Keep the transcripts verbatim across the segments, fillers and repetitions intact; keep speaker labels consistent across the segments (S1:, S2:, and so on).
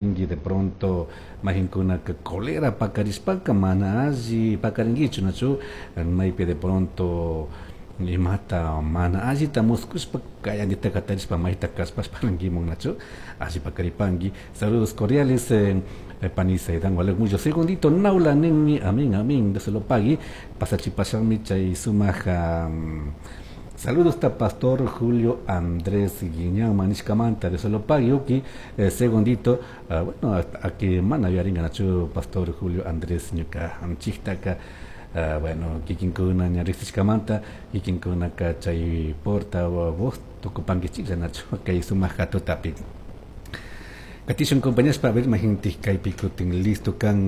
S1: De pronto mayqinkunaka cólera pakarishpaka mana alli pakarinkichu nachu maypi de pronto imata mana allita muskushpa kayandita katarishpa mayta kashpashpa nachu alli pakaripanki. Saludos cordiales, eh, pani Saidan Walek mucho segundito naula ninmi amén amén Dios se lo pague pasachipashami chay sumaq um, saludos ta pastor Julio Andrés Guiñán manishkamanta Dios se lo pague uki eh, segundito uh, bueno aquí mana yaringa nachu pastor Julio Andrés ñuka anchiktaka uh, bueno kikinkuna ña riqsishkamanta kikinkunaka chay porta voz tukupankichiklla nachu kay sumaq hatutapi. Katishun compañeros para ver mayqintik kaypi kutin listo kan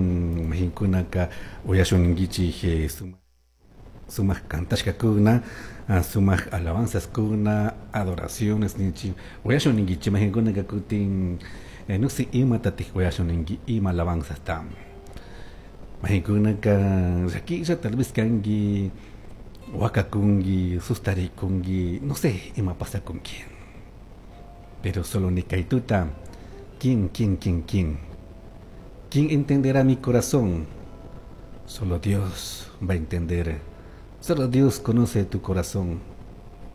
S1: mayqinkunaka uyashunninkichik eh, sumaq kantashkakuna sumaq alabanzaskuna adoraciones ninchik uyashunninkichik mayqinkunaka kutin eh, no sé imatatik uyashunninki ima alabanzasta mayqinkunaka llakilla tal vez kanki wakakunki sustarikunki no sé ima pasakunki pero solo ni kaytuta. ¿Quién, quién, quién, quién? ¿Quién entenderá mi corazón? Solo Dios va a entender. Solo Dios conoce tu corazón.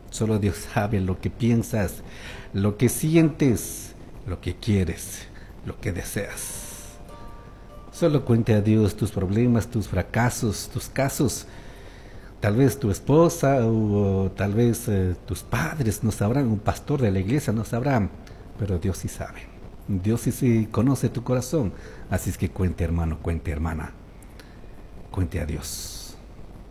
S1: Solo Dios sabe lo que piensas, lo que sientes, lo que quieres, lo que deseas. Solo cuente a Dios tus problemas, tus fracasos, tus casos. Tal vez tu esposa o, o tal vez eh, tus padres no sabrán, un pastor de la iglesia no sabrá, pero Dios sí sabe. Dios sí, sí conoce tu corazón. Así es que cuente, hermano, cuente, hermana. Cuente a Dios.